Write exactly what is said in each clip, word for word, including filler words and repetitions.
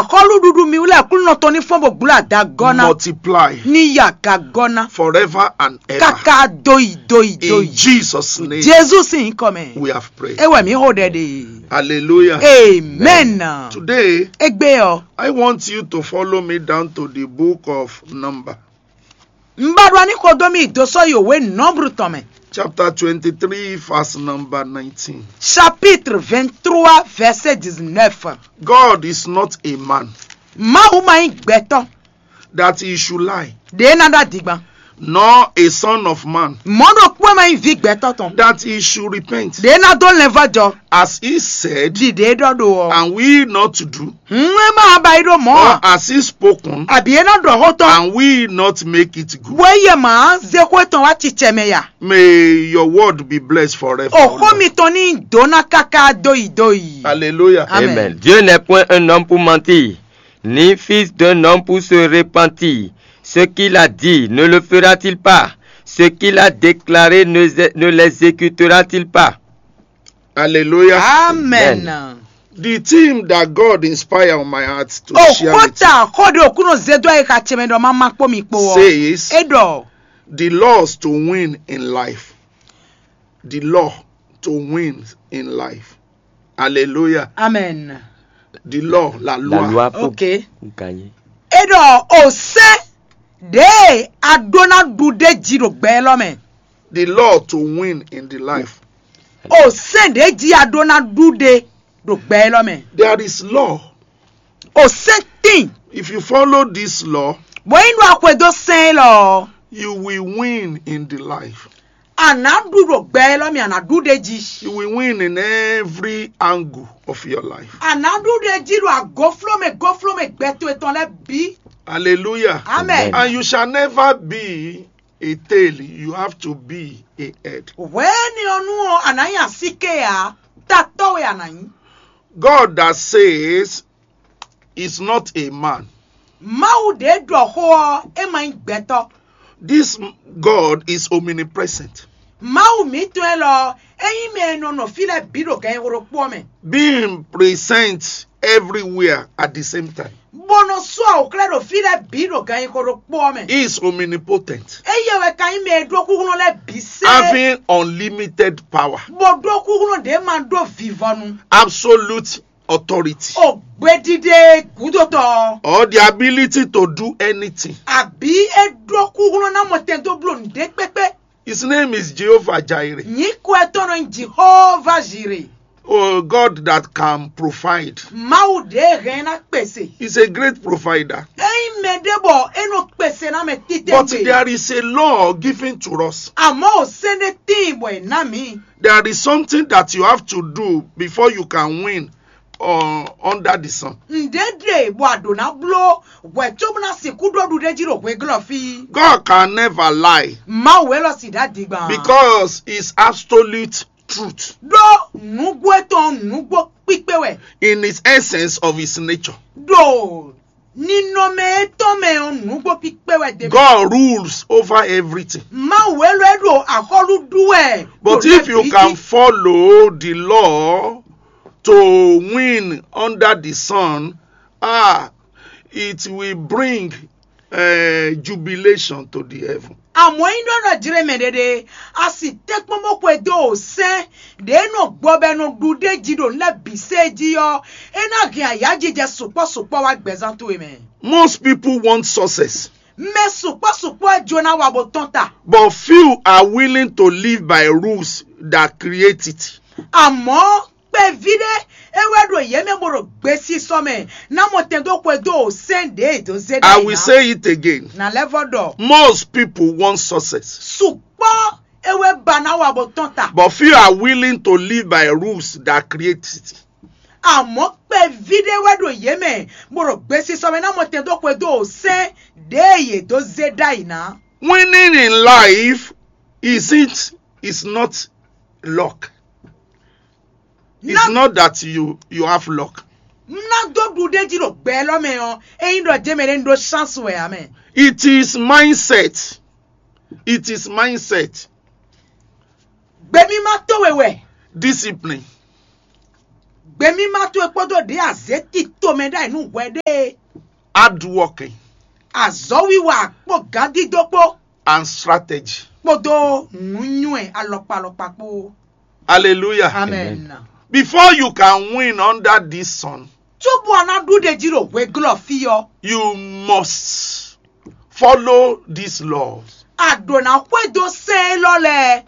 Xɔlúɖuɖu mi wú lɛ́ɛ Aklúnɔ tɔn ní fɔ́n bó gblo adagɔ́ ná, multiply ní yi agagɔ́ ná, forever and ever. káká dóyi dóyi In dóyi. Jesus' name, Jezu sín nyǐkɔ mɛ. We have prayed. É wɛ mǐ xo ɖɛ ɖe. Hallelujah. Amen. Today, Égbé ɔ, I want you to follow me down to the book of Number, un ba ɖɔ ní xo dó mì dó sɔ́ yi òwe Nɔ́bru tɔn mɛ. Chapter twenty-three, verse number nineteen. Chapitre vingt-trois, verset dix-neuf. God is not a man Mawu ma nyí gbɛtɔ́ that he should lie, ɖě ná ɖó adigban. Nor a son of man Mɔ̌ ɖokpó ma nyí vǐ gbɛtɔ́ tɔn that he should repent. Ɖě ná dó lɛnvɔ́jɔ. As he said, Ɖi ɖě ɖɔ ɖo ɔ. and we not do, Hǔn é má ba yi ɖó mɔ̌ or a? as he spoken, Àbí é ná ɖɔ xó tɔn? And we not make it good. Bó é yɛ mǎ zé xó tɔn wá cicɛ mɛ ya. May your word be blessed forever. Òxó mitɔn ní dó ná káká dóyi dóyi. Hallelujah. Amen. Amen. Dieu n'est point un homme pour mentir, ni fils d'un homme pour se repentir. Ce qu'il a dit, ne le fera-t-il pas? Ce qu'il a déclaré, ne, ne l'exécutera-t-il pas? Hallelujah. Amen. The theme that God inspired on my heart to share with you Òkúta xó ɖe òkúnɔ zé dó ayika ce mɛ ɖɔ má má kpó mi kpó ɔ. Says, É ɖɔ the laws to win in life. The law to win in life. Hallelujah. Amen. The law, la loi. La loi pour Ok. gagner. É ɖɔ òsɛ́n ɖě a ɖó ná ɖu ɖé jí ɖo gbɛ élɔ́ mɛ. The law to win in the life. Òsɛ́n ɖě jí a ɖó ná ɖu ɖé ɖo gbɛ élɔ́ mɛ. There is law. Òsɛ́n tín. If you follow this law, Bó yín ɖo axwe dó sɛn élɔ́. You will win in the life. A nǎ ɖu ɖo gbɛ élɔ́ mɛ, a nǎ ɖu ɖé jí. You will win in every angle of your life. A nǎ ɖu ɖé jí ɖo agofló mɛ gofló mɛ gbɛ towe tɔn lɛ́ɛ bǐ. Hallelujah. Amen. And you shall never be a tail, you have to be a head. Hwɛ̌ni ɔ́ nú ɔ́, a nǎ nyí asíké ǎ, tatɔ́ wɛ a nǎ nyí. God that says is not a man. Mawu ɖě ɖɔ xó ɔ́, é ma nyí gbɛtɔ́. This God is omnipresent, Mawu mǐtɔn élɔ́, é nyí mɛ e nɔ nɔ fí lɛ́ɛ bǐ ɖo gǎnnyíxó ɖokpó ɔ́ mɛ. being present everywhere at the same time. Bó nɔ sú awǔxlɛ́ ɖo fí lɛ́ɛ bǐ ɖo gǎnnyíxó ɖokpó ɔ́ mɛ. He is omnipotent, Éyɛ́ wɛ ka nyí mɛ e ɖó xúxlɔ́ lɛ́ɛ bǐ sɛ́. Having unlimited power, Bó ɖó xúxlɔ́ ɖě ma ɖó vivɔnu. Absolute authority, O gbeɖiɖe gǔdotɔ. Or the ability to do anything. Àbí é ɖó xúxlɔ́ ná mɔ tɛn dó bló nǔɖé kpékpé. His name is Jehovah Jireh. Nyǐkɔ ɛ tɔn nɔ nyí Jihova Zire. Oh, God that can provide. Mawu ɖě hɛn ná kpèsè. He's a great provider. Ényí mɛ ɖé bɔ é nɔ kpèsè ná mɛ But títɛ̀ngbé. There is a law given to us. Àmọ́ ò sɛ́n ɖé tíin bɔ è ná mǐ. There is something that you have to do before you can win uh, under the sun. Ǹdé ɖe bɔ àɖǒ ná bló hwɛ̌ cóbó ná sixú ɖó ɖuɖéjí ɖo hweglɔ́ fí. God can never lie Mawu wɛ lɔ sì ɖá digban. Because it's absolute truth Ɖó nǔgbó etɔn nǔgbó kpíkpé wɛ. In his essence of his nature. Ɖo ninɔmɛ etɔn mɛ ɔ́ nǔgbó kpíkpé wɛ dé. God rules over everything. Mawu wɛ lɔ é ɖo axɔ́lú ɖú wɛ. But if you can follow the law to win under the sun, ah, it will bring uh, jubilation to the heaven. Àmọ́ é nyí ɖɔ nɔ jlé mɛ ɖéɖé, a sì tɛ́nkpɔ́n bó xwedó o sɛ́n ɖě nɔ gbɔ bɔ è nɔ ɖu ɖ'é jí ɖo nǔ lɛ́ɛ bǐ sée jí ɔ́, é ná hɛn ayǎjijɛ sukpɔ́ sukpɔ́ wá gbɛzán towe mɛ. Most people want success, Mɛ sukpɔ́ sukpɔ́ ɛ jó ná wa bó tɔ́n ta. But few are willing to live by rules that create it. Àmọ́ kpɛví ɖé é wɛ ɖo yě mɛ bó ɖo gbesisɔ mɛ ná mɔ tɛn dó xwedó o sɛ́n ɖě è dó zé I ɖ'ayǐ will ná. Say it again. Nǎ lɛ́ vɔ ɖɔ. Most people want success, Sukpɔ́ é wɛ ba ná wa bó tɔ́n ta. But few are willing to live by rules that create it. Àmọ́ kpɛví ɖé wɛ ɖo yě mɛ bó ɖo gbesisɔ mɛ ná mɔ tɛn dó xwedó o sɛ́n ɖě è dó zé ɖ'ayǐ ná. Winning in life isn't is not luck. It's Ná- not that you you have luck. Ná dó ɖu ɖ'é jí ɖo gbɛ élɔ́ mɛ ɔ́, é nyí ɖɔ jɛ́n mɛ ɖé ń ɖó chance wɛ ǎ mɛ. It is mindset. It is mindset. Gbemímá towe wɛ. Discipline. Gbemímá towe kpódó ɖě a zě tito mɛ ɖ'ayǐ nú hwɛ ɖe é. Hard working Azɔ̌wiwa kpó gǎndídó kpó and strategy. Kpódó nǔnywɛ́ alɔkpa alɔkpa kpó. Hallelujah. Amen. Before you can win under this sun, Cóbɔ a ná ɖu ɖe jí ɖo hweglɔ́ fí ɔ́, you must follow these laws, a ɖǒ ná xwedó sɛ́n élɔ́ lɛ́ɛ,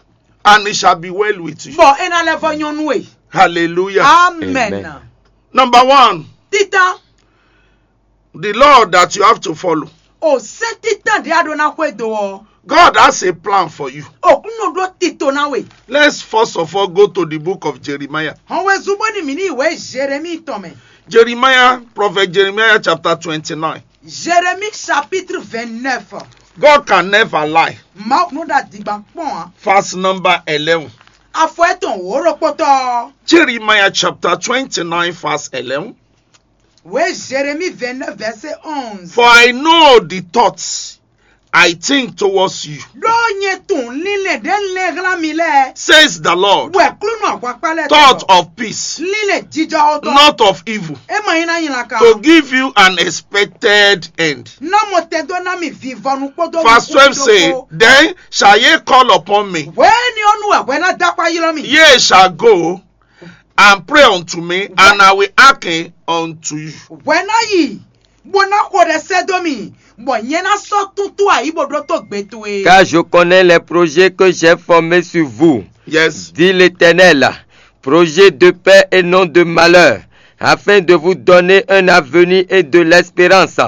and it shall be well with you. Bɔ é ná lɛ́ vɔ́ nyɔ́ nú we. Hallelujah. Amen. Amen. Number one, Títán, the law that you have to follow. O sɛ́n títán ɖě a ɖó ná xwedó ɔ́, God has a plan for you. Òkúnnú ɖó tito ná we. Let's first of all go to the book of Jeremiah. Hɔn wezun bó ní mǐ ní wě Jeremíi tɔn mɛ. Jeremiah, Prophet Jeremiah chapter twenty-nine. Jérémie chapitre vingt-neuf. God can never lie. Mawu nú ɖo adigban kpɔ́n ǎ. Verse number eleven. Afɔ etɔn wǒ ɖokpótɔ́. Jeremiah chapter twenty-nine, verse eleven. Wě Jérémie vingt-neuf verset onze. For I know the thoughts I think towards you. Ɖó nyɛ tunwun lílɛ́ ɖě lɛ́ hlán mi lɛ́ɛ. Says the Lord. Wɛ klúnɔ ahwakpá lɛ́ɛ Thought tɔn. Of peace, Lílɛ́ jijɔxɔ tɔn. Not of evil, É ma nyí ná nylá kan. To give you an expected end. Ná mɔ tɛn dó ná mi vivɔnu kpódó. Verse twelve say, Then shall ye call upon me, Wɛ̌ni ɔ́ nú wɛ hwɛ ná dó akpá ylɔ́ mi. Ye shall go and pray unto me, and I will hearken unto you. Hwɛ ná yi bó ná xo ɖɛ sɛ́ dó mi, bɔ nyɛ ná sɔ́ túntú ayǐ bó ɖótó gbe towe. Car je connais les projets que j'ai formés sur vous, Yes. Dit l'Éternel, projets de paix et non de malheur, afin de vous donner un avenir et de l'espérance.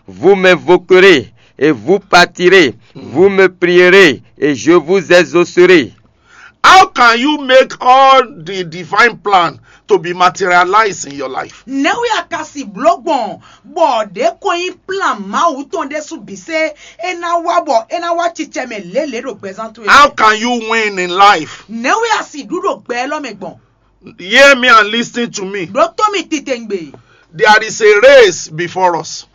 Vous m'invoquerez et vous partirez, vous me prierez et je vous exaucerai. How can you make all the divine plan to be materialized in your life? Nɛ̌ wɛ a ka si bló gbɔn bɔ ɖě ko nyí plan Mawu tɔn ɖésú bǐ sé é ná wá bɔ é ná wá cicɛ mɛ lělě ɖo gbɛzán towe? How can you win in life? Nɛ̌ wɛ a si ɖu ɖo gbɛ élɔ́ mɛ gbɔn? Hear me and listen to me. Ɖótó mi titewungbe. There is a race before us.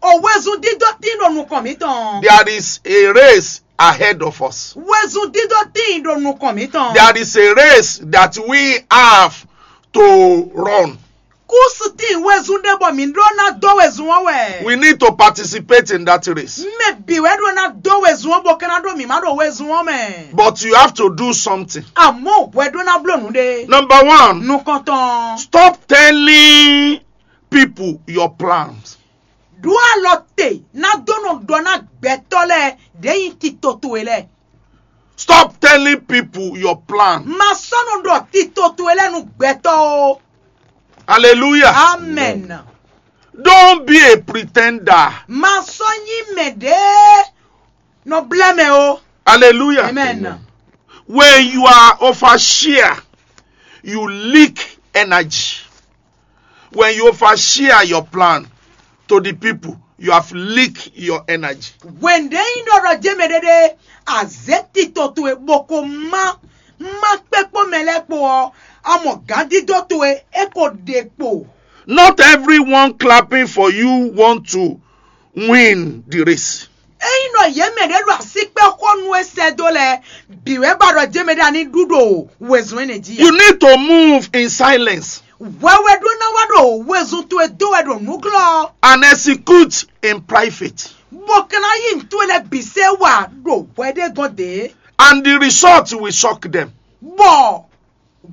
O wezun dídó tín ɖo nukɔn mǐtɔn. There is a race ahead of us. Wezun dídó tín ɖo nukɔn mǐtɔn. There is a race that we have to run. Kúsi tín wezun ɖé bɔ mǐ ɖó ná dó wezun ɔ́ wɛ. We need to participate in that race. Mɛ bǐ wɛ ɖó ná dó wezun ɔ́ bó ka ná ɖó mǐ má ɖo wezun ɔ́ mɛ. But you have to do something. Àmọ́ hwɛ ɖó ná bló nǔ ɖé. Number one, Nukɔntɔn. Stop telling people your plans. Ɖó alɔ te ná dó nɔ ɖɔ ná gbɛtɔ́ lɛ́ɛ ɖě nyí tito towe lɛ́ɛ. Stop telling people your plan. Ma sɔ́ nɔ ɖɔ tito towe lɛ́ɛ nú gbɛtɔ́ ó. Hallelujah. Amen. Don't be a pretender. Ma sɔ́ nyí mɛ ɖě nɔ blɛ́ mɛ ó. Hallelujah. Amen. When you are overshare, you leak energy. When you overshare your plan to the people, you have leaked your energy. Wěndé nyí ɖɔ ɖɔ jɛ́ mɛ ɖéɖé, azě tito towe bó ko má má kpé kpó mɛ lɛ́ɛ kpó ɔ́, a mɔ gǎndídó towe é ko ɖe kpo. Not everyone clapping for you want to win the race. Ényí ɖɔ yě mɛ ɖě ɖo asíkpɛ́ xó nú é sɛ́ dó lɛ́ɛ, bǐ wɛ ba ɖɔ jɛ́ mɛ ɖé a ní ɖu ɖo wezun énɛ́ jí. You need to move in silence Hwɛhwɛ ɖó ná wá ɖo wezun towe dó wɛ ɖo nǔglɔ́. And execute in private. Bó ka ná yí nǔ towe lɛ́ɛ bǐ sɛ́ wá ɖo hwɛ ɖé gɔ́n dě. And the result will shock them. Bɔ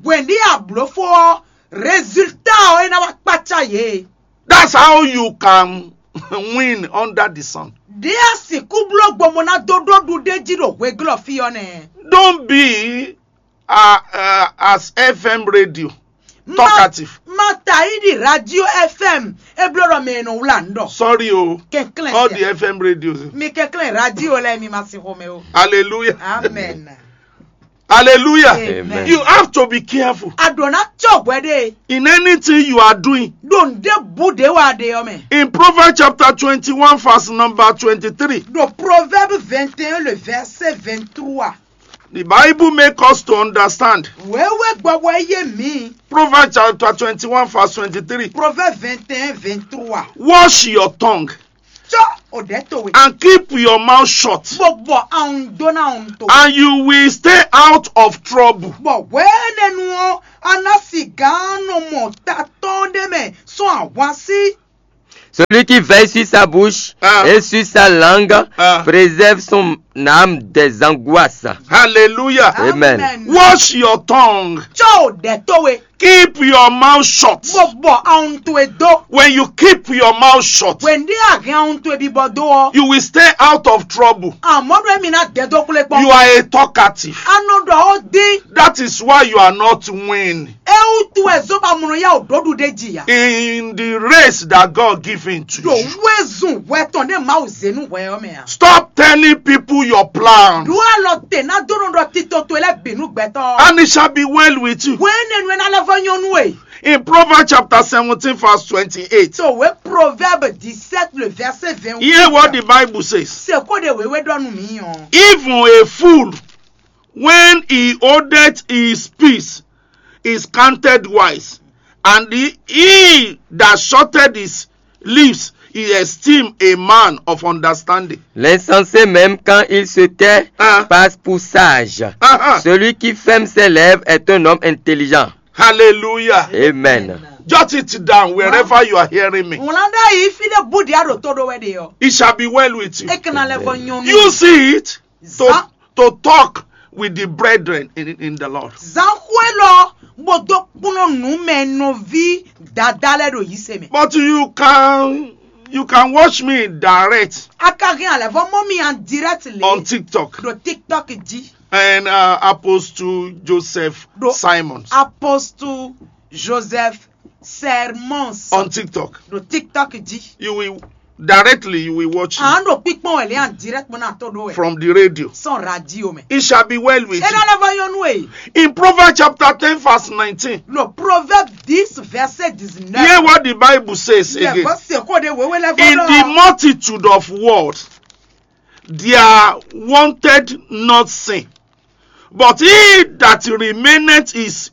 hwɛ̌ndí ablǒfó ɔ́, résultat ɔ́ é ná wá kpácá yě. That's how you can win under the sun. Ɖě a sixú bló gbɔn bó ná dó ɖó ɖuɖéjí ɖo hweglɔ́ fí ɔ́ nɛ́. Don't be uh, uh, as F M radio talkative. Ma ta yi ɖi radio F M e bló ɖɔ mɛ e nɔ wlá nǔ ɖɔ. Sorry o. Kɛnklɛn All sia. The F M radios. Mi kɛnklɛn radio lɛ mi ma si xɔmɛ o. Hallelujah. Amen. Hallelujah. Amen. You have to be careful. A ɖǒ ná cɔ hwɛ ɖe. In anything you are doing. Ɖo ŋɖe bu ɖe wa ɖe ɔ́ mɛ. In Proverbs chapter twenty-one, verse number twenty-three. Ɖo Proverbe vingt et un le verset vingt-trois. The Bible makes us to understand. Wěwé gbɔbɔ yé mi. Proverbs chapter twenty-one, verse twenty-three. Proverbe vingt et un vingt-trois. Watch your tongue. Cɔ o ɖɛ̌ towe. And keep your mouth shut. Bó bɔ awun dó ná awun to. And you will stay out of trouble. Bɔ hwɛ̌nɛnu ɔ́, a ná sigǎn nɔ mɔ ta tɔn ɖé mɛ sɔ́ ahwan sí. Celui qui veille sur sa bouche Ah. et sur sa langue Ah. préserve son âme des angoisses. Hallelujah. Amen. Watch your tongue. Có o ɖɛ̌ towe. Keep your mouth shut. Bó bɔ awun towe dó. When you keep your mouth shut, Hwɛ̌ndí a hɛn awun towe bibɔ dó ɔ́, you will stay out of trouble. Àmọ́ ɖó émi ná dɛn dó kplé kpɔ́n. You are a talkative. A nɔ ɖɔ ó dín. That is why you are not winning. É wútu wɛ zó ba mlɔ yá ò ɖó ɖu ɖé ji ya. In the race that God given to Ɖo you. wézun hwɛ tɔn ɖé Mawu zé nú hwɛ ɔ́ mɛ a. Stop telling people your plans. Ɖó alɔ te ná dó nɔ ɖɔ tito towe lɛ́ bǐ nú gbɛtɔ́. And it shall be well with you. Hwɛ̌nɛnu e ná lɛ́ vɔ nyɔ́ nú we. In Proverbs chapter seventeen, verse twenty-eight. So we Proverbe dix-sept, le verset vingt-huit. Hear what the Bible says. Se kó ɖe wěwé ɖɔ nú mǐ ɔ́. Even a fool, when he holdeth his peace, is counted wise, and he, he that shutteth his lips is esteemed a man of understanding. L'insensé même quand il se tait Ah. passe pour sage. Ah, ah. Celui qui ferme ses lèvres est un homme intelligent. Hallelujah. Amen. Jot it down wherever you are hearing me. Ŋlá ɖe yi fi ɖe bú ɖia ɖo tó ɖó wɛ ɖe ɔ. It shall be well with you. E kana lɛ vɔ nyɔnu. You see it to, Zan- to talk with the brethren in, in the Lord. Zanxu elɔ bó dó kplɔ́n nǔ mɛ nɔví dada lɛ ɖo yise mɛ. But you can you can watch me direct A ka hɛn alɛ vɔ mɔ mi en direct le on TikTok ɖo TikTok ji. And uh, Apostle Joseph Do- Simons Apostle Joseph Sermons on TikTok. ɖo TikTok ji. You will directly you will watch À it ń ɖo kpíkpɔ́n wɛ lé en direct mɔ náà tó ɖó wɛ. From the radio. Sɔn radio mɛ. It shall be well with E you. ná lɛ vɔ nyɔnu e. In Proverbs chapter ten verse nineteen, Le Proverbe dix verset dix-neuf. Hear what the Bible says Yɛ again. Vɔ se kó de wéwé lɛ In the vɔ. Multitude of words, there wanted not sin, but he that remaineth is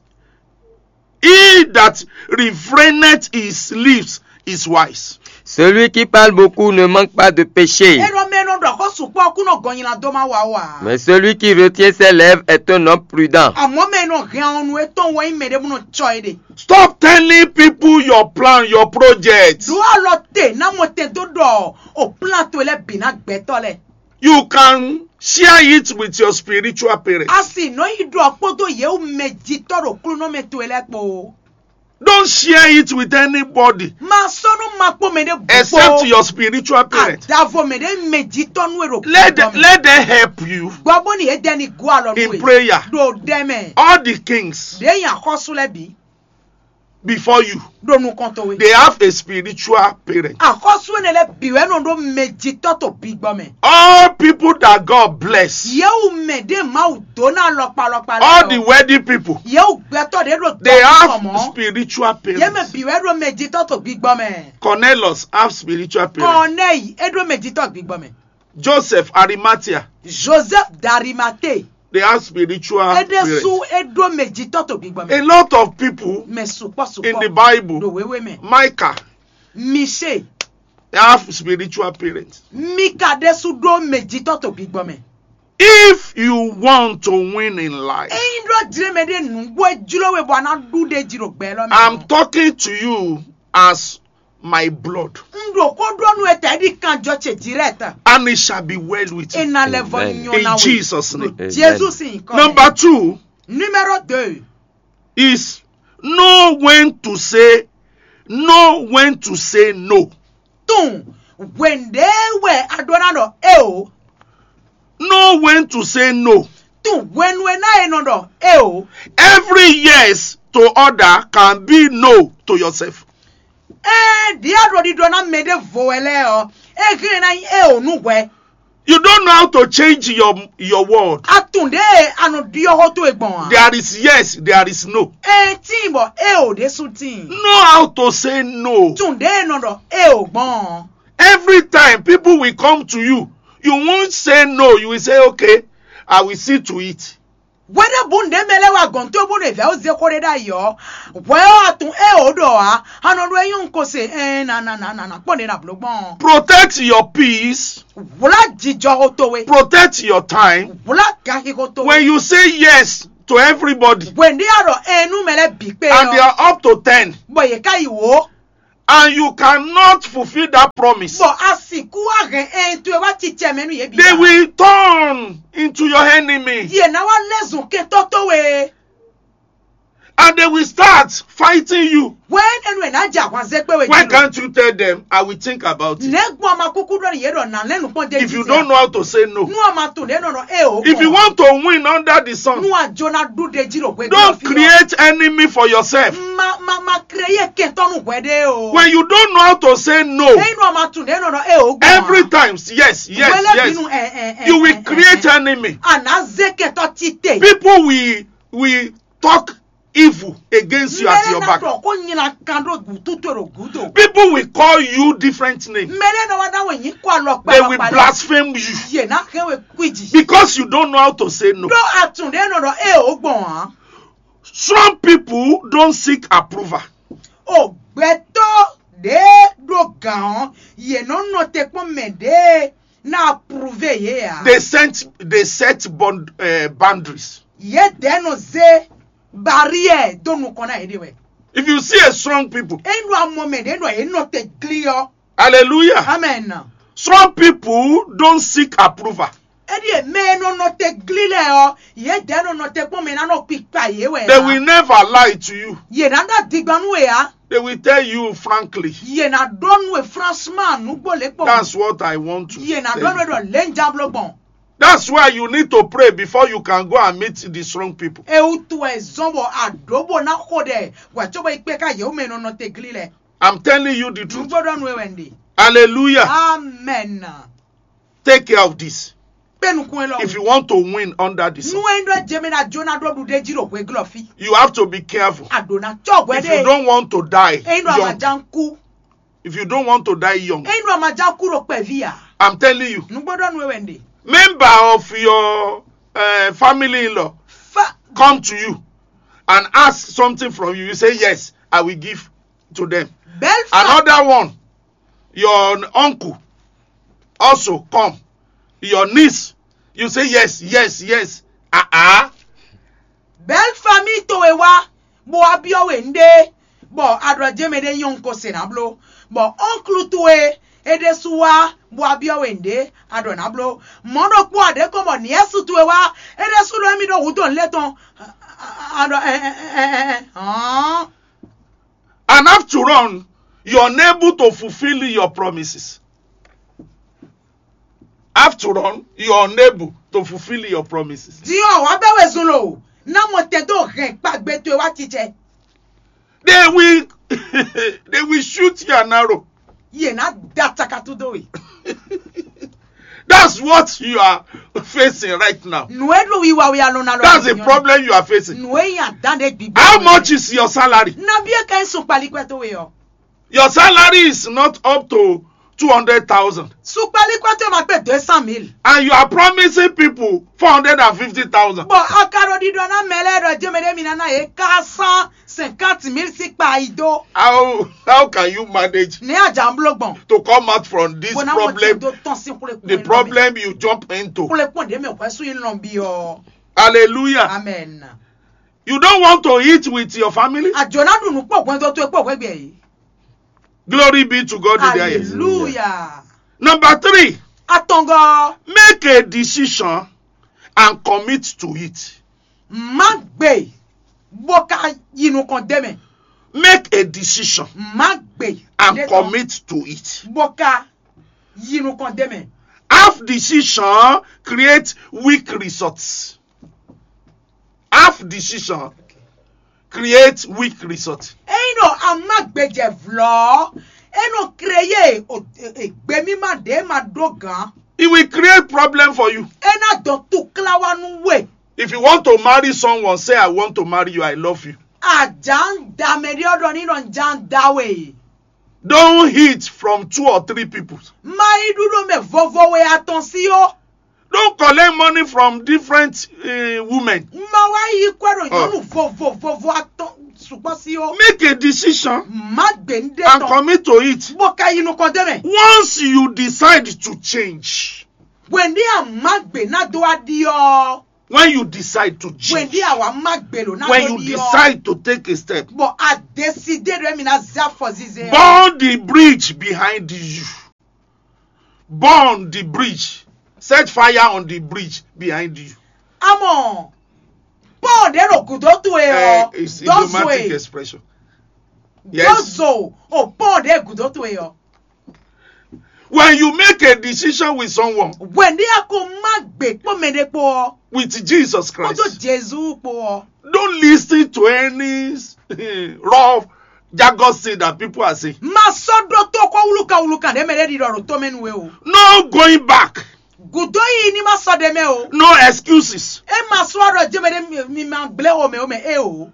he that refraineth his lips is wise. Celui qui parle beaucoup ne manque pas de péché, E ɖɔ mɛ nɔ ɖɔ xɔ sukpɔ kú nɔ gɔnyina dó ma wa wa. mais celui qui retient ses lèvres est un homme prudent. Àmọ́ mɛ nɔ hɛn ɔnu etɔn wɔ mɛ ɖé bó nɔ tsɔ e ɖe. Stop telling people your plan, your project. Ɖó alɔ te ná mɔ tɛn dó ɖɔ o plan to lɛ bǐ ná gbɛtɔ lɛ. You can share it with your spiritual parents. A sì nɔ yi ɖɔ kpódó yewu mɛ jitɔ ɖo klúnɔ mɛ to lɛ kpó. Don't share it with anybody Ma sɔnu ma kpó mɛ ɖé bu except your spiritual parents. Adavo mɛ ɖé mɛ jitɔ nú e ɖo Let them, kúdɔ mɛ. Let them help you Gbɔ bó ni e dɛ ni gó alɔ in nú e. Prayer. Ɖo ɖɛ mɛ. All the kings Ɖe yin axɔsu lɛ bǐ. Before you, Ɖo nukɔn towe. They have a spiritual parent. Axɔsu ene lɛ bǐ wɛ nɔ ɖo mɛ jitɔ to bí gbɔ mɛ. All people that God bless, Yewu mɛ ɖé Mawu dó ná lɔkpalɔkpa lɛ. All the wealthy people, Yewu gbɛtɔ ɖé ɖo they tɔ have mɔ. Spiritual Ye mɛ parents. Bǐ wɛ ɖo mɛ jitɔ to bí gbɔ mɛ. Cornelius have spiritual parents. Kɔnɛyi e ɖo mɛ jitɔ bí gbɔ mɛ. Joseph Arimathea, Joseph d'Arimathée. They have spiritual Eɖe su parents. E ɖo mɛ jitɔ to bí gbɔ mɛ. A lot of people Mɛ sukpɔ in the sukpɔ. Bible, Ɖo wewe mɛ. Micah, Mise. They have spiritual parents. Mika ɖe su ɖo mɛ jitɔ to bí gbɔ mɛ. If you want to win in life, Eyin ɖɔ jire mɛ ɖe nugbo e jlo we bɔ a ná ɖu ɖe ji ɖo gbɛ lɔ mɛ. I'm talking to you as my blood. N ɖo ko ɖɔ nu etɛ ɖi kan jɔ ce direct. And it shall be well with E you. Na lɛ vɔ Amen. nyɔ In na we. Jesus' name. Amen. Jesu sin kɔ. Number two Numéro deux. Is know when to say, know when to say no. Tun hwende wɛ a ɖo na ɖɔ e o. Know when to say no. Tun hwenu e na e nɔ ɖɔ e o. Every yes to other can be no to yourself. Ɛɛ ɖi a ɖo ɖiɖɔ na mɛ ɖe vo wɛ lɛ ɔ. E hɛn na e o nu hwɛ. You don't know how to change your your word. A tun ɖe a nɔ ɖiɔ xɔ to e gbɔn a. There is yes, there is no. E tin bɔ e o ɖe su tin. Know how to say no. Tun ɖe e nɔ ɖɔ e o gbɔn. Every time people will come to you, you won't say no. You will say, "Okay, I will see to it." Hweɖěbǔ nǔɖé mɛ lɛ́ɛ wá gɔ̌n towe bónú è vɛ̌ ó zé xó ɖé ɖ'ayǐ ɔ́, hwɛ ɔ́, a tunwun ée wǒ ɖɔ ǎ. A nɔ ɖó é nyɔ́ un ko se ɛɛn na na na na na kpɔ́n ɖě na blǒ gbɔn. Protect your peace. Hwlá jijɔxo towe. Protect your time. Hwlá ganxixo towe. When you say yes to everybody, Hwenu ɖé a ɖɔ ɛɛn nú mɛ lɛ́ɛ bǐ kpé and they ɔ́, are up to ten, bɔ yě ká yi wǒ, and you cannot fulfill that promise, bɔ a sixú wá hɛn ɛɛn towe wá cicɛ mɛ nú yě bǐ they ǎ, will turn into your enemy. Yě ná wá lɛ́ zun kɛntɔ́ towe. And they will start fighting you. Hwɛ̌ ɛnu è nǎ jɛ ahwan zé kpé we Why jí lo? Can't you tell them, "I will think about it"? Nɛ̌ gbɔn a ma kúkú ɖɔ nú yě ɖɔ nǎ lɛ́ nǔkpɔ́n d'é If jí you jí don't a? Know how to say no, Nú a ma tunwun ɖě nɔ ɖɔ é o if you gbɔn ǎ. Want to win under the sun, Nú a jǒ ná ɖu ɖ'é jí ɖo hwegbe don't ɔ́ fí ɔ́, create enemy for yourself. Ma ma ma créé kɛntɔ́ nú hwɛɖée o. When you don't know how to say no, Ényí nú a ma tunwun ɖě nɔ ɖɔ é o gbɔn ǎ. Every time, yes, yes, Hwelɛ́bí yes, nu ɛ ɛ ɛ you will ɛ, ɛ, create ɛ. Enemy. A nǎ zé kɛntɔ́ títè. People will will talk evil against you at your back. Mɛɖé ná ɖɔ xó nyla kan ɖó gǔtú towe ɖo gǔdo. People will call you different names. Mɛɖé ná wá ná wɛ nyǐ kɔ alɔ kpa They will blaspheme you. Yě ná hɛn we kwíji. Because you don't know how to say no. Ɖó atún ɖé nɔ ɖɔ é o gbɔn ǎ. Strong people don't seek approval. O gbɛtɔ́ ɖě ɖo gǎn ɔ́, yě nɔ nɔ te kpɔ́n mɛ ɖě ná aprouvé yě ǎ. They set they set bond, uh, boundaries. Yědɛɛ nɔ zé barrière dó nukɔn ná yěɖée wɛ. If you see a strong people, Ényí ɖo amɔ mɛ ɖě nɔ yě nɔ te glí ɔ́. Hallelujah. Amen. Strong people don't seek approval. Éɖíe mɛ e nɔ nɔ te glí lɛ́ɛ ɔ́, yědɛɛ nɔ nɔ te kpɔ́n mɛ ná nɔ kpikpa yě wɛ. They will never lie to you. Yě ná ɖɔ digban nú we ǎ. They will tell you frankly. Yě ná ɖɔ nú we franchement nǔgbó lě kpɔ́n. That's what I want to Yě ná tell ɖɔ nú we you. Ɖɔ lě ń já bló gbɔn. That's why you need to pray before you can go and meet the strong people. Ewútu wɛ zɔn bɔ àɖǒ bó ná xo ɖɛ wɛ cóbɔ yi kpé ká yě wú mɛ e nɔ nɔ te glí lɛ. I'm telling you the truth. Nǔgbó ɖɔ nú we wɛ un ɖe. Hallelujah. Amen. Take care of this. Kpé nukún elɔ́. If you want to win under the sun, Nú é ɖɔ jɛmɛ ná jó ná ɖó ɖuɖé jí ɖo hweglɔ́ fí. You have to be careful. Àɖò ná cɔ́ hwɛ If you don't want to die Ényí ɖɔ young, àmàjá ń kú. If you don't want to die young, Ényí ɖɔ àmàjá kú ɖo kpɛ̀ví à. I'm telling you, Nǔgbó ɖɔ nú we wɛ un ɖe. Member of your uh, family in-law Fa come to you and ask something from you. You say, "Yes, I will give to them." Belle femme. Another one, your uncle also come, your niece, you say, "Yes, yes, yes." Ah ah. Belle famille towe wá, bó wá byɔ́ we nɖé, bɔ a ɖɔ jɛ́n mɛ ɖé nyɔ́ un ko se ná bló, bɔ oncle towe é ɖésú wá, bó wá byɔ́ we nɖé, a ɖɔ ná bló. Mɔ̌ ɖokpó a ɖě kɔn bɔ nièce towe wá, é ɖésú ɖɔ émí ɖo hǔ dó nǔ lɛ́ɛ tɔn, a ɖɔ ɛ ɛ ɛ ɛ ɛ hɔn. And after all, you're unable to fulfill your promises. After all, you're unable to fulfill your promises. Din ɔ́, wǎ bɛ́ wezun lo, ná mɔ tɛn dó hɛn kpagbe towe wá cicɛ. They will, they will shoot you an arrow. Yě ná da cakatú dó we. That's what you are facing right now. Nǔ e ɖo wiwa we alɔ na lɔ. That's the problem you are facing. Nǔ e nya dán ɖe gbígbó. How much is your salary? Nabí e ka nyí sun kpalikpɛ towe ɔ́? Your salary is not up to two hundred thousand. Sukpali kpɔtɔ ma kpe deux cent mille. And you are promising people four hundred and fifty thousand. Bɔ a ka ɖo ɖiɖɔ ná mɛ lɛ́ɛ ɖɔ jɛmɛ ɖé mi ná ná yě quatre cent cinquante mille sí kpa yi dó. How how can you manage Ní àjà ń bló gbɔn. To come out from this Bó ná wọ́n ti problem? Dó tán sí xwlé The problem you jump into. Xwlé kpɔn ɖé mɛ hwɛ sú yín lɔn bí ɔ. Hallelujah. Amen. You don't want to eat with your family? Àjò ná dùn nú pọ̀ gbọ́n tó tó pọ̀ gbẹ́gbẹ́ yìí. Glory be to God in the highest. Hallelujah. Number three, Atɔngɔ. Make a decision and commit to it. Má gbé bó ká yinu kan dé mɛ. Make a decision Má gbé and commit to it. Bó ká yinu kan dé mɛ. Half decision create weak results. Half decision create weak result. Ényí ɖɔ a má gbéjɛ vlɔ́ ɔ́, é nɔ créé gbemímá ɖě ma ɖó gǎn. It will create problem for you. É ná dɔn túkláwá nú we. If you want to marry someone, say, "I want to marry you, I love you." Àjà ń da mɛ ɖé ɔ́ ɖɔ ní nɔ já ń dá we. Don't eat from two or three people. Má yí ɖúɖó mɛ vovo we atɔn sí ó. Don't collect money from different uh, women. Ma wá yí kwɛ́ ɖo nyɔ̌nu vovovovo atɔn sukpɔ́ sí ó. Make a decision. Má gbé ń ɖe and tɔn commit to it. Bó ka yi nukɔn dé mɛ. Once you decide to change, Hwɛ̌ndí a má gbé ná dó wá ɖi ɔ́. When you decide to change, Hwɛ̌ndí a wá má gbé ló ná when dó you ɖi ɔ́. Decide to take a step, Bɔ a décidé ɖɔ émi ná zé afɔ zizɛ ɔ́. Burn the bridge behind you. Burn the bridge. Set fire on the bridge behind you. Amɔ pɔn ɖé ɖo gǔdo towe ɔ́. Eh, it's dó zo idiomatic e expression. Dó Yes. Zo o pɔn ɖé gǔdo towe ɔ́. When you make a decision with someone, Hwɛ̌ndí a ko má gbé kpó mɛ ɖé kpó ɔ́. With Jesus Christ, Kpódó Jezu kpó ɔ́. Don't listen to any rough jargon thing that people are saying. Ma sɔ́ ɖótó xó wúlúkan wúlúkan ɖé mɛ ɖé ɖiɖɔ ɖo tó mɛ nú we o. No going back. Gǔdo yi ní ma sɔ́ ɖé mɛ o. No excuses. É ma sɔ́ ɖɔ jɛ́mɛ ɖé mi- mi ma gblé o mɛ o mɛ é o.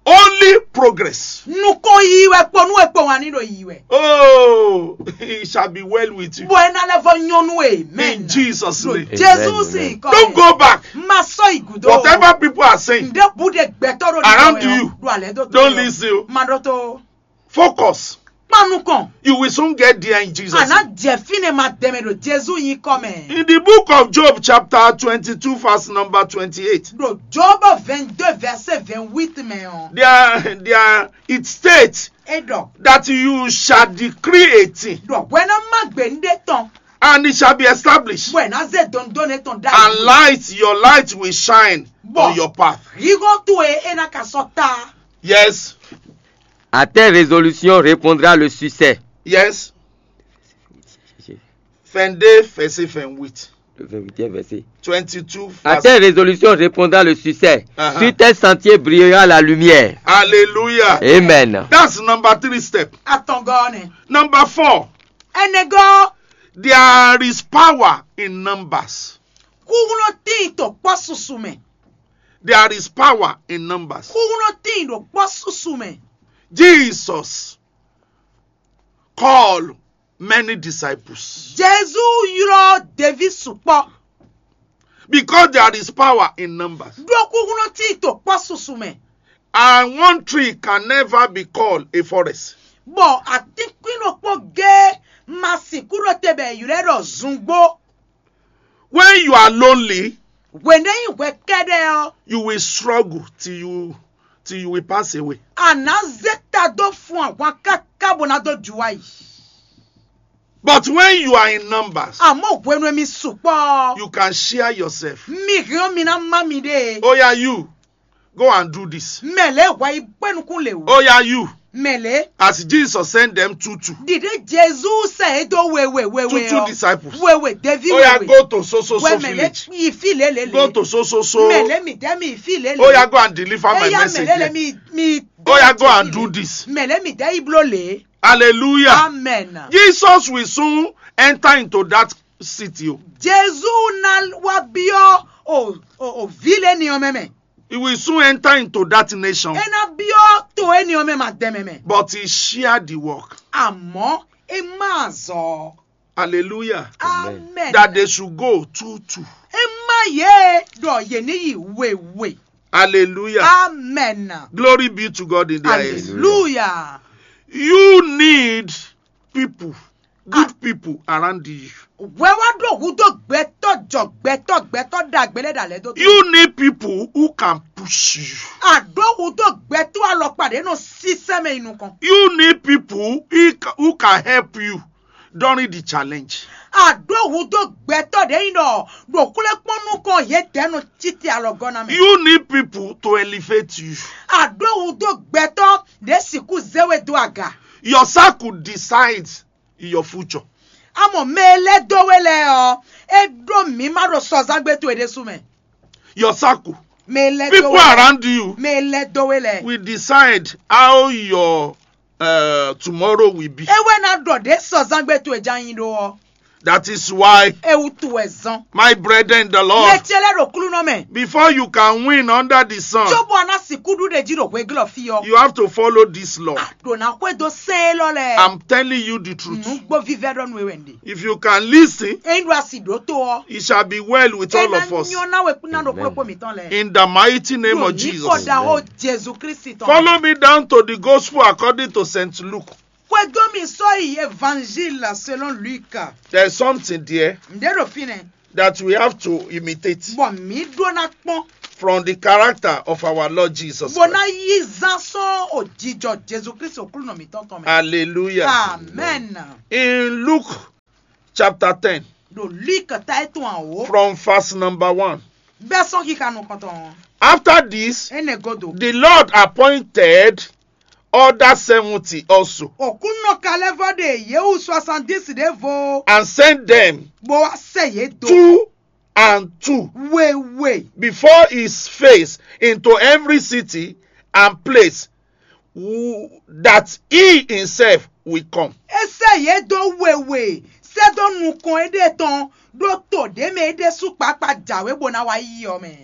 Only progress. Nukɔn yi wɛ kpɔnú wɛ kpɔn wá ní ɖo yi wɛ. Oh, it shall be well with you. Bɔ ɛ ná lɛ vɔ nyɔnu e mɛ. In Jesus' name. Jesu Amen, sì amen. Kɔ. Don't go back. Ma sɔ yi gúdo. Whatever people are saying Nde bu de gbɛtɔ ɖo around you, ɖo alɛ do don't listen o. Ma ɖɔ to. Focus. Kpanu kɔn. You will soon get there in Jesus' name. Ana jɛ fine ma dɛmɛ ɖo Jesu yi kɔ mɛ. In the book of Job, chapter twenty-two, verse number twenty-eight, Ɖo Job vingt-deux verset vingt-huit mɛ ɔ. There, there it states E ɖɔ. That you shall decree a thing, Ɖɔ hwɛ ná má gbe nu ɖe tɔn. And it shall be established. Bɔ ɛ ná zé dɔndɔn ne tɔn ɖa. And light, your light will shine on your path. Hihɔn to e e ná ka sɔ ta. Yes. À telle résolution répondra le succès. Yes. Vingt-deux, verset vingt-huit. Le vingt-huitième verset. Twenty-two, à verse telle résolution répondra le succès. Uh-huh. Sur tel sentier brillera la lumière. Hallelujah. Amen. That's number three step. Atɔngɔne. Number four. Enego. There is power in numbers. Kuguno tin to kpɔ susu mɛ. There is power in numbers. Kuguno tin to kpɔ susu mɛ. Jesus called many disciples. Jesu ylɔ ɖevi sukpɔ. Because there is power in numbers. Ɖo kuguno tin to kpɔ susu mɛ. And one tree can never be called a forest. Bɔ atínkpín ɖokpó gé ma sixú ɖo te bɔ è ylɔ́ ɖɔ zungbo. When you are lonely, Hwɛ̌ nɛ́ nyí hwɛ kɛ́ɖɛ́ ɔ́, you will struggle till you till you will pass away. A nǎ zé ta dó fun ahwan káká bó ná dó ju wá yi. But when you are in numbers, Àmọ́ hwenu e mi sukpɔ́, you can share yourself. Mi hɛn ɔ́ mi ná má miɖée. Oh yeah, you. Go and do this. Mɛ lě hwɛ yi kpé nukún lě wú. Oh yeah, you. Mɛ lě. As Jesus sent them two two. Ɖiɖe Jezu sɛ é dó wewe wewe Two two ɔ. Disciples. Wewe devi Oh yeah, wewe. Go to so so so Wɛ mɛ lě village. Yi fí lě lě lě. Go to so so so. Mɛ lě mi dɛ mi yi fí lě lě. Oh yeah, go and deliver my Eya message mɛ lě lě there. Mi mi. Oh yeah, go and do this. Mɛ lě mi dɛ yi bló lě. Hallelujah. Amen. Jesus will soon enter into that city. Oh. Jezu ná wá byɔ́ o o o vǐ lě ní ɔ́ mɛ mɛ. He will soon enter into that nation. É ná byɔ́ to éní ɔ́ mɛ ma dɛ mɛ mɛ. But he shared the work. Àmọ́ é má zɔ. Hallelujah. Amen. That they should go two two. É má yé ɖɔ yě ní yi wěwé. Hallelujah. Amen. Glory be to God in the highest. Hallelujah. You need people, good people around you. Wɛ wá ɖo hudó gbɛtɔ́ jɔ gbɛtɔ́ gbɛtɔ́ ɖagbe lɛ́ ɖa lɛ́ dó. You need people who can push you. Àɖó hudó gbɛtɔ́ alɔkpa ɖě nɔ sísɛ́ mɛ yi nukɔn. You need people who ca- who can help you during the challenge. Àɖó hudó gbɛtɔ́ ɖě yi nɔ ɖo kúlɛ́kpɔ́n nukɔn yě dɛ́ nɔ títí alɔgɔ́ ná mɛ. You need people to elevate you. Àɖó hudó gbɛtɔ́ ɖě sixú zé we dó aga. Your circle decides your future. Amɔ mɛ e lɛ́ dó we lɛ́ɛ ɔ́, é ɖó mǐ má ɖo sɔzángbé towe ɖésú mɛ. Your circle. Mɛ e lɛ́ dó People we lɛ́ɛ. Around you Mɛ e lɛ́ dó we lɛ́ɛ. Will decide how your uh, tomorrow will be. É wɛ ná ɖɔ ɖě sɔzángbé towe ján nyi ɖó ɔ́. That is why, E wútu wɛ zɔn. My brethren in the Lord, Mɛ ce lɛ́ɛ ɖo klúnɔ mɛ. Before you can win under the sun, Cóbɔ a ná sixú ɖu ɖe jí ɖo hwegélɔ fí ɔ́. You have to follow this law. Ɖo ná xwedó sɛn élɔ́ lɛ́ɛ. I'm telling you the truth. Nǔgbó vívɛ́ ɖɔ nú we wɛ ɖe. If you can listen, Ényí ɖo asi ɖǒ tó ɔ́. It shall be well with all of us. Nyɔ ná we kún ná ɖo kplɔ́kpó mǐtɔn lɛ́ɛ. In the mighty name of Ní Jesus. Kɔ́ ɖaxó Jezu Kristi tɔn. Follow me down to the gospel according to Saint Luke. Xwedó mi sɔ́ yi Évangile selon Luc. There's something there Ǹdé ɖo fínɛ́. That we have to imitate Bɔ mǐ ɖó ná kpɔ́n. From the character of our Lord Jesus. Bó ná yí zán sɔ́ òjijɔ Jezu Kristi òklúnɔ mǐtɔn tɔn mɛ. Hallelujah. Amen. In Luke chapter ten, Ɖo Luc ta é tún àwò. From verse number one. Bɛ́ sɔ́n kíka nukɔntɔn. After this, Énɛ́ godo. The Lord appointed other seventy also Òkúnnɔ kalɛ́vɔ ɖe yěwu soixante-dix ɖěvo. And sent them Bó wá sɛ yě dó. Two and two Wewe. Before his face into every city and place who, that he himself will come. É sɛ yě dó wewe. Sɛ dó nukɔn éɖée tɔn. Ɖó to ɖě mɛ é ɖésú kpakpa jǎwe bó ná wá yí ɔ mɛ.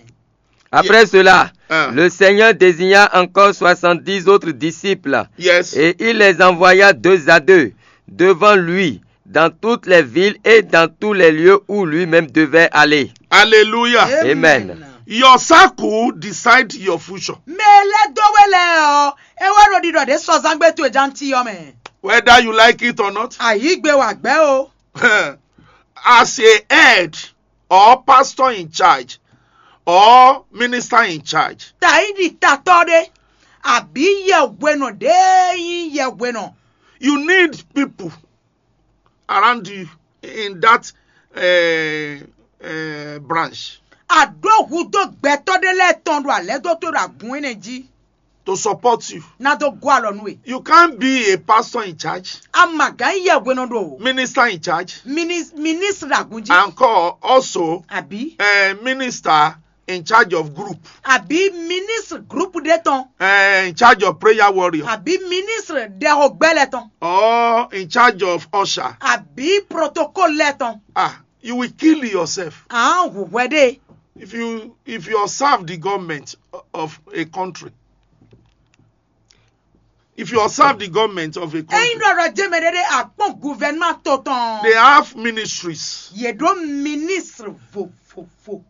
Après cela, Ah. Le Seigneur désigna encore soixante-dix autres disciples Yes. Et il les envoya deux à deux devant lui dans toutes les villes et dans tous les lieux où lui-même devait aller. Hallelujah. Amen. Your circle decide your future. Mɛ lɛ dó we lɛ ɔ. É wá ɖo ɖiɖɔ ɖě sɔzán gbé towe ján ti ɔ mɛ. Whether you like it or not. Ayǐgbe wà gbɛ o. As a head or pastor in charge or minister in charge, Tàyíɖi tatɔ́ ɖé. Àbí yɛhwenɔ ɖé nyí yɛhwenɔ. You need people around you in that uh, uh, branch. Àɖó hudó gbɛtɔ́ ɖé lɛ́ɛ tɔn ɖo alɛ́ dó tó ɖo agun énɛ́ jí. To support you. Ná dó gɔ́ alɔ nú we. You can't be a pastor in charge, Amagán yɛhwenɔ ɖo. Minister in charge, Ministre agun jí. And call also Àbí. A minister in charge of group, Àbí ministre groupe ɖé tɔn. Uh, in charge of prayer warrior, Àbí ministre ɖɛxogbɛ́ lɛ tɔn. Or in charge of usher. Àbí protocole lɛ tɔn. Ah, you will kill yourself. À ń hùwẹ́ ɖe. If you if you serve the government of a country, if you serve the government of a country, Ényí ɖɔɖɔ jẹ́ mɛ ɖé ɖé àkpɔn gouvernement tó tɔn. They have ministries. Yě ɖó ministre vovovo.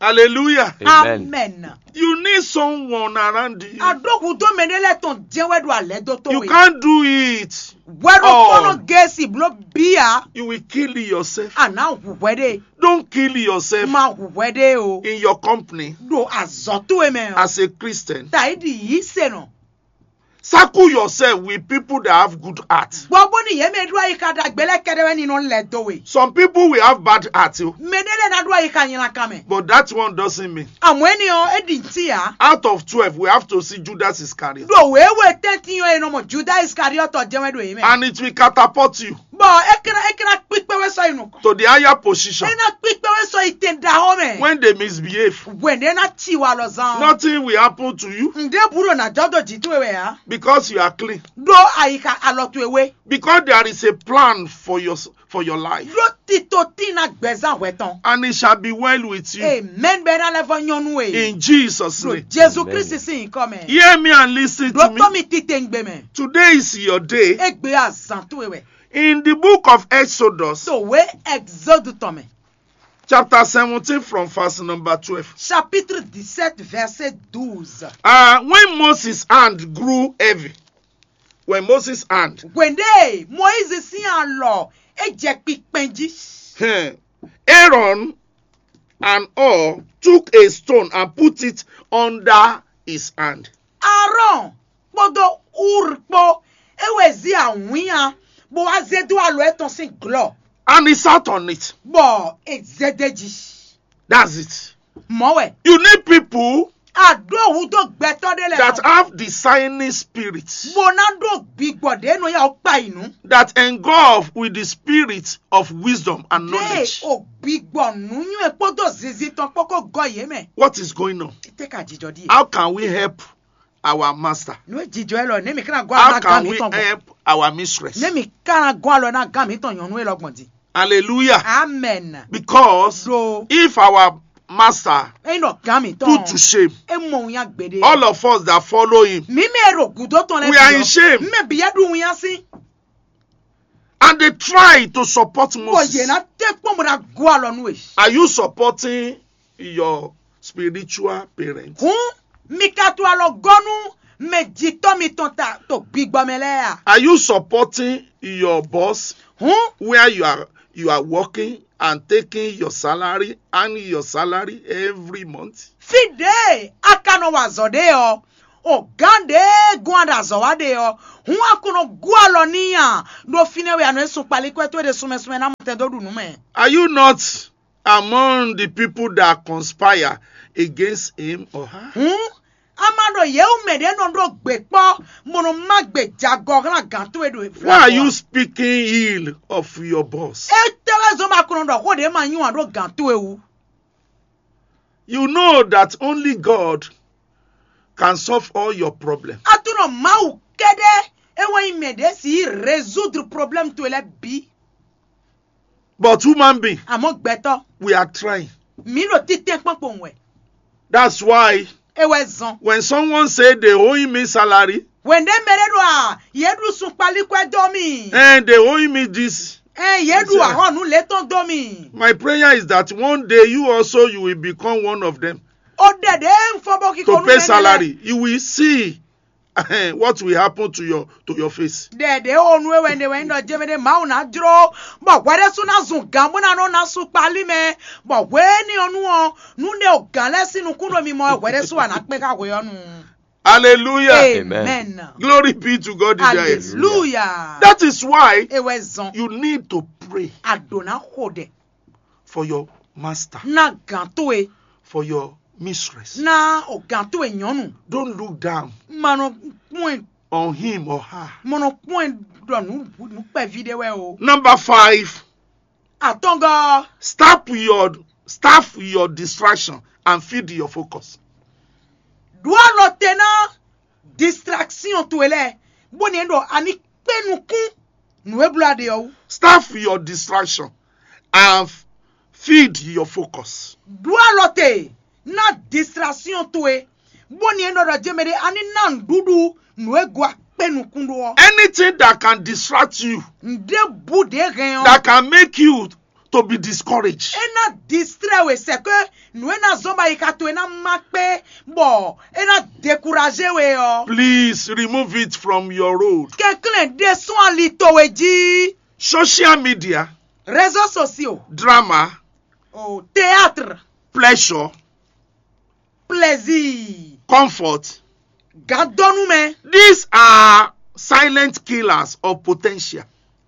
Hallelujah. Amen. Amen. You need someone around you. Àɖó hudó mɛ ɖé lɛ tɔn jẹ́ wɛ ɖo alɛ dó tó You we. Can't do it. Wɛ ɖo Oh. kpɔnɔ gẹ̀ẹ́sì bló bíyà. You will kill yourself. À ná hùwẹ́ ɖe. Don't kill yourself Má hùwẹ́ ɖe o. In your company Ɖo azɔ́ tó e mɛ o. As a Christian. Tàyíɖi yìí sè nɔ. Circle yourself with people that have good heart. Gbɔ bó ni yě mɛ ɖó ayi ka ɖagbe lɛ kɛɖɛ wɛ ni nɔ lɛ do we. Some people will have bad heart o. Mɛ ɖé lɛ ná ɖó ayi ka nyina kan mɛ. But that one doesn't mean. Àmọ́ ẹni ɔ é ɖi ntí ya. Out of twelve, we have to see Judas Iscariot. Ɖo wěwe tɛ́ntin ɔ e nɔ mɔ Juda Iskariɔtɔ jẹ́ wɛ ɖo yě mɛ. And it will catapult you Bɔ é kɛ́ é kɛ́ ná kpíkpé wɛ sɔ yi nukɔn. To the higher position. É ná kpíkpé wɛ sɔ yi tɛn ɖaxó mɛ. When they misbehave, Wɛn ɖé ná ci wa lɔ zan. Nothing will happen to you. Ǹdé burú ná jɔ dó jǐ towe wɛ ya. Because you are clean. Ɖó ayi ka alɔ towe wé. Because there is a plan for your for your life. Ɖó tito tí ná gbɛzán hwɛ tɔn. And it shall be well with you. Amen bɛ ná lɛ vɔ nyɔnu e. In Jesus' name. Jesu Kristi sin nyikɔ mɛ. Hear me and listen to me. Ɖó tɔ́ mi tite ŋgbe mɛ. Today is your day. Egbe azan towe wɛ. In the book of Exodus, Tòwé Exode tɔn mɛ. Chapter seventeen from verse number twelve. Chapitre dix-sept verset douze. Uh, when Moses' hand grew heavy, when Moses' hand, Hwende Moise sin alɔ e jɛ kpikpɛn jí. eh, Aaron and Hur took a stone and put it under his hand. Aaron kpódó Ur kpó e wɛ zi awǐnnya bó wá zé dó alɔ etɔn sín glɔ́. And he sat on it. Bɔ e zé dé jí. That's it. Mɔ̌ wɛ. You need people Àɖó òwú dó gbɛtɔ́ ɖé lɛ that have designing spirit, bó ná ɖó gbigbɔ ɖě nɔ yá ɔ kpa yi nǔ. That engulf with the spirit of wisdom and Ɖé knowledge. O gbigbɔ nǔnywɛ́ kpódó zinzin tɔn kpó kó gɔ yě mɛ. What is going on? Tɛ ka jijɔ ɖi. How can we help our master? Nú jijɔ ɛ lɔ, ne mi kana gɔ How alɔ na can gan we mi tɔn gbɔn. Help our mistress? Ne mi kana gɔ alɔ na gan mi tɔn nyɔnu ɛ lɔ gbɔn di. Hallelujah. Amen. Because Ɖo if our master eyin ɖɔ gán mi put to tɔn shame e mɔ wunya gbeɖe. all of us that follow him, Mi mɛ e ɖo gǔdo tɔn lɛ we are in shame. Mɛ bi yɛ ɖu wunya sín. And they try to support Bɔ yě Moses. ná tɛ kpɔn bó ná gó alɔ nú e. Are you supporting your spiritual parents? Hǔn mi ka to alɔ gɔ́ nú mɛ jitɔ́ mitɔn ta to gbigbɔ mɛ lɛ́ɛ a? Are you supporting your boss Hǔn where you are you are working and taking your salary and your salary every month? Fí ɖě a ka nɔ wa azɔ̌ ɖe ɔ́, o gǎn ɖě gɔ́n a ɖo azɔ̌ wa ɖe ɔ́, hǔn a ko nɔ gú alɔ n'i a? Ɖo fínɛ́ wɛ a nɔ e sun kpalikɔ́ towe ɖe sunmɛ sunmɛ ná mɔ tɛn dó ɖu nǔ mɛ. Are you not among the people that conspire against him or her? Hǔn a ma ɖo yě wú mɛ ɖě nɔ ɖó gbě kpɔ́, bó nɔ má gbè jagɔ hlán gǎn towe ɖo Why are you speaking ill of your boss? Étɛ́ wɛ zɔ́n bɔ a ko nɔ ɖɔ xó ɖě ma nyí wǎn ɖó gǎn towe wú? You know that only God can solve all your problems. Aklúnɔ Mawu kɛ́ɖɛ́ é wɛ nyí mɛ ɖě si résoudre problème towe lɛ́ɛ bǐ. But human being, Àmọ́ gbɛtɔ́, we are trying. Mǐ ɖo títɛn kpɔ́n kpowun wɛ. That's why É wɛ zɔn. When someone say they owing me salary, Wěndé mɛ ɖé ɖo a yě ɖu sun kpalíkwɛ́ dó mì. And they owing me this, Ɛ yě ɖu ahɔnu létɔn dó mì. My prayer is that one day you also you will become one of them. O ɖɛ ɖě ń fɔ bó kíkó To pay salary, you will see what will happen to your to your face. Ɖɛ ɖě o nu e wɛ ɖe wɛ ń ɖɔ jɛmɛ ɖé Mawu ná jló, bɔ hwɛ ɖé sú ná zun gǎn bó ná nɔ ná sú kpalí mɛ, bɔ hwɛ éní ɔ́ nu ɔ́, nú ɖé o gǎn lɛ́ɛ sín nukún ɖo mi mɔ wɛ hwɛ ɖé sú wà ná kpé xá hwɛ ɔ́ nu. Hallelujah. Amen. Glory be to God in the highest. Hallelujah. That is why É wɛ zɔn. You need to pray A ɖǒ ná xo ɖɛ for your master, ná gǎn towe, for your mistress. ná o gǎn towe nyɔ̌nu. Don't look down Ma nɔ kpɔ́n ɛ on him or her. Mɔ nɔ kpɔ́n ɛ ɖɔ nǔ nǔ kpɛví ɖé wɛ o. Number five, Atɔngɔ stop your stop your distraction and feed your focus. Ɖó alɔ te ná distraction towe lɛ́ɛ, bó ní ɖɔ a ní kpé nukún nǔ e bló a ɖe ɔ́ wú. Stop your distraction and feed your focus. Ɖó alɔ te ná distraction towe, bó ní ɖɔ ɖɔ jɛmɛ ɖé a ní ná nǔɖuɖu nǔ e go a kpé nukún ɖó ɔ́. Anything that can distract you, Nǔɖé bú ɖě hɛn ɔ́. That can make you to be discouraged. É ná distrɛ we sɛ ke nǔ e ná zɔ́n bɔ ayixa towe ná má kpé, bɔ é ná dekuraze we ɔ́. Please remove it from your road. Kɛnklɛ́n ɖésú ali towe jí. Social media, Réseaux sociaux, drama, o théâtre, pleasure, plaisir, comfort. Gadɔnu mɛ. These are silent killers of potential.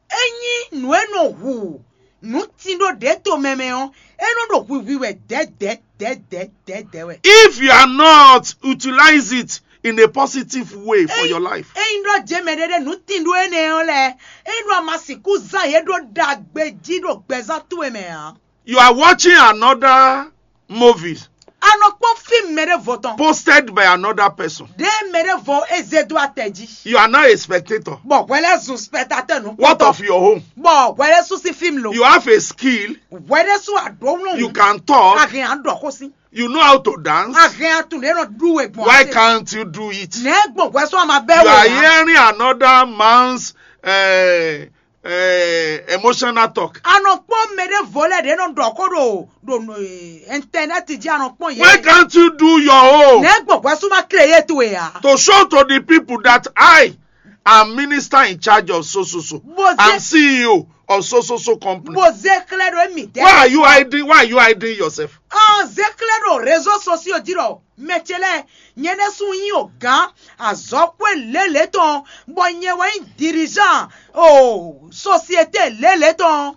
Enyi nǔ e nɔ hu nǔ tin ɖó ɖě to mɛ mɛ ɔ́, é nɔ ɖo hwihwi wɛ dɛ̌dɛ̌dɛ̌dɛ̌ wɛ. If you are not utilize it in a positive way for your life, Ényí ɖɔ jɛ mɛ ɖé ɖé nǔ tin ɖó énɛ́ ɔ́ lɛ́ɛ, é ɖo ama sixú zán yě ɖó ɖagbe jí ɖo gbɛzán towe mɛ ǎ. You are watching another movie. A nɔ kpɔ́n fíìmù mɛ ɖěvo tɔn. Posted by another person. Ɖé mɛ ɖěvo é zé dó atɛ jí. You are now a spectator. Bɔ hwɛ lɛ́ zun spectateur nú. What of your home? Bɔ hwɛ lɛ́ sú sí fíìmù lo. You have a skill. Hwɛ lɛ́ sú àɖó wlɔ́n. You can talk. Àhìn àɖɔ kó sí. You know how to dance. Àhìn àtúndé nɔ ɖú we gbɔn. Why can't you do it? Nɛ gbɔn hwɛ sɔ ma bɛ You are wɛ ya. Hearing another man's uh, uh, emotional talk. A nɔ kpɔn mɛ ɖěvo lɛ ɖě nɔ ɖɔ kó ɖo ɖo internet jí a nɔ kpɔn yě. Why can't you do your own? Nɛ gbɔn hwɛ sɔ ma créer to ya. To show to the people that I am minister in charge of so so so. Bó I'm zé C E O of so so so company. Bó zé xlɛ ɖo émi dɛ. Why are you hiding? Why are you hiding yourself? Ɔn zé xlɛ ɖo réseaux sociaux jí ɖɔ mɛ ce lɛ nyɛ ɖésú nyí o gán azɔ́xwé lélě tɔn bɔ nyɛ wɛ nyí dirigeant o société lélě tɔn.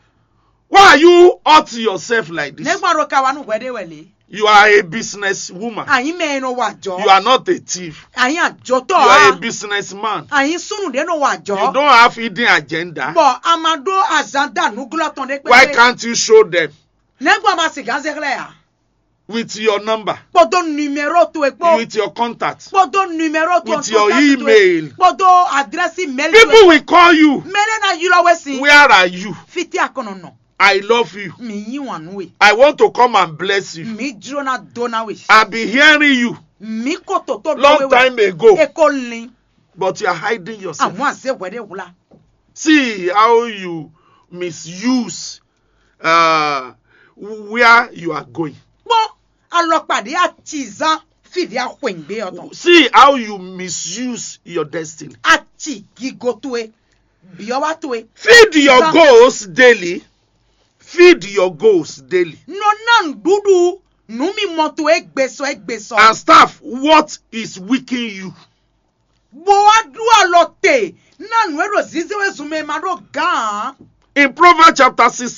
Why are you hurt yourself like this? Nɛgbɔn ɖo ka wa nú hwɛ ɖé wɛ lě. You are a business woman. Àyín mɛ e nɔ wa jɔ. You are not a thief. Àyín àjọtɔ You are a a. Business man. Àyín súnú ɖé nɔ wa You jɔ. Don't have hidden agenda. Bɔ a ma ɖó azanda nǔglɔ́ tɔn ɖé Why kpɛkpɛ. Can't you show them Nɛgbɔn ma sì gán zé xlɛ ya. With your number, Kpɔdó numéro towe kpɔ. With your contact, Kpɔdó numéro towe. With your email. Kpɔdó adresse mail towe. People will call you. Mɛ lɛ na ylɔ we si. Where are you? Fiti akɔnɔ nɔ. I love you. Mǐ yí wǎn nú we. I want to come and bless you. Mǐ jló ná dó ná we. I've been hearing you Mǐ ko toto dó long we wɛ. Time ago, E ko lin. But you are hiding yourself. Àmọ́ àzé hwɛɖé wla. See how you misuse uh, where you are going. Kpɔn alɔkpa ɖé atizán fídí axwɛ̀ngbé ɔtɔn. See how you misuse your destiny. Ati gigo towe. Biɔwa towe. Feed your Zan- goals daily. Feed your goals daily. Nɔ ná nǔɖuɖu nǔ mi mɔ towe gbesɔ gbesɔ. And staff what is weakening you. Bó wá ɖú alɔ te ná nǔ e ɖo zizé we zun mɛ ma ɖó gán. In Proverbs chapter sixteen,